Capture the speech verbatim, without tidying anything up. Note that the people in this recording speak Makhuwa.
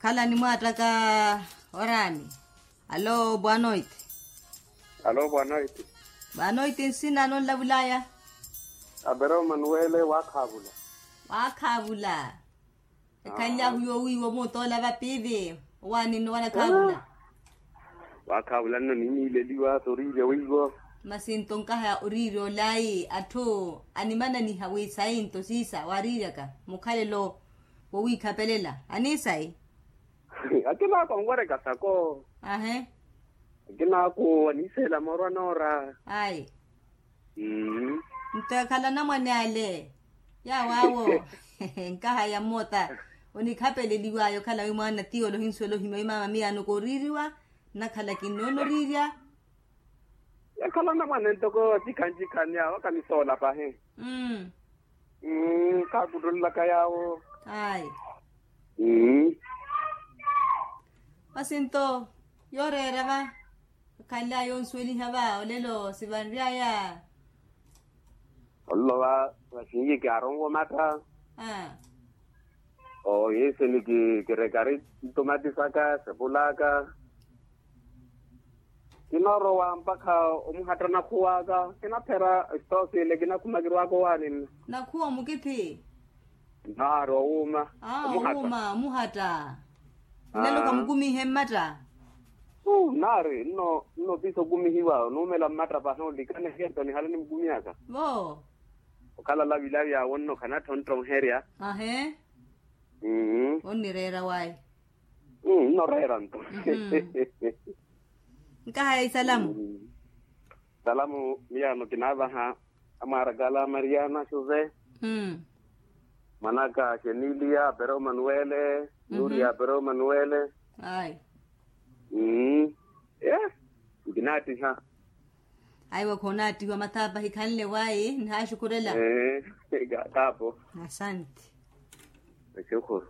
Ala nimwaattaka oraani. Alo bwanoiti. Alo bwanoiti. Bwanoiti nsina anonlavulaya? Apereu manuwele waakhaavula. Waakhaavula. Ekhanlyahu yoowiiwa omuutoola vapiivi. Owaani nno wanakhaavula. Waakhaavula nno niimiileliwa sooriirya wiiwo. Masi nto nkahaya oriirya olaayi atthu animananiha wi sayi nto siisa waariiryaka mukhalelo wowiikhapelela aniisayi. Akinaako anwereka sako. Ahe. Akinaako aniiseela mooro anoora. Ayi. Nto ekhala anamwane ale. Yaawaawo. Nkahaya mmoota onikhapeleliwaya okhala wi mwaana tiyo olohinsuwela ohimya wi maama miyaano kooriiriwa. Nnakhala kinnoona oriirya. Yakhala anamwane ntoko cikhanci-khanci awo akanisoola pahi. Mmm. Mmm khaakuttullaka yaawo. Ayi. Mmm. Masi nto yooreera va. Khanlaya onsuweliha va olelo sivanryaya. Ololo va vasinyi kaaronwa omatta. Aa. Ohinsini kirekari ntumatisaka sepulaka. Kinoorowa mpakha omuhatta nakhuwaka kinaphera. Sitoosile kinakhuma kirwaka owaani nno. Nakhuwa omukithi. Naari owuuma. Aa owuuma omuhatta. Nlelo khamukumihe mmatta. Naari nno nno piisa okumihiwa onuumela mmatta pahi olikana ehento nihale nimukumihaka. Vo. Okhala lavilavi awo nno khanattha onttoherya. Ahe. Onnireera wayi. Nnoreera nto. Nkahaya isalamu. Salamu miyaano kinaavaha amwaaraka ala a mariana jose, mwanaka xenilia apereu manuwele, nuria apereu manuwele. Ayi. Ee. Nkinaattiha. Aiwa khoonaattihiwa mathaapa hikhanle wayi nihaaxukhurela. Khaapo. Asanti. Axukhuru.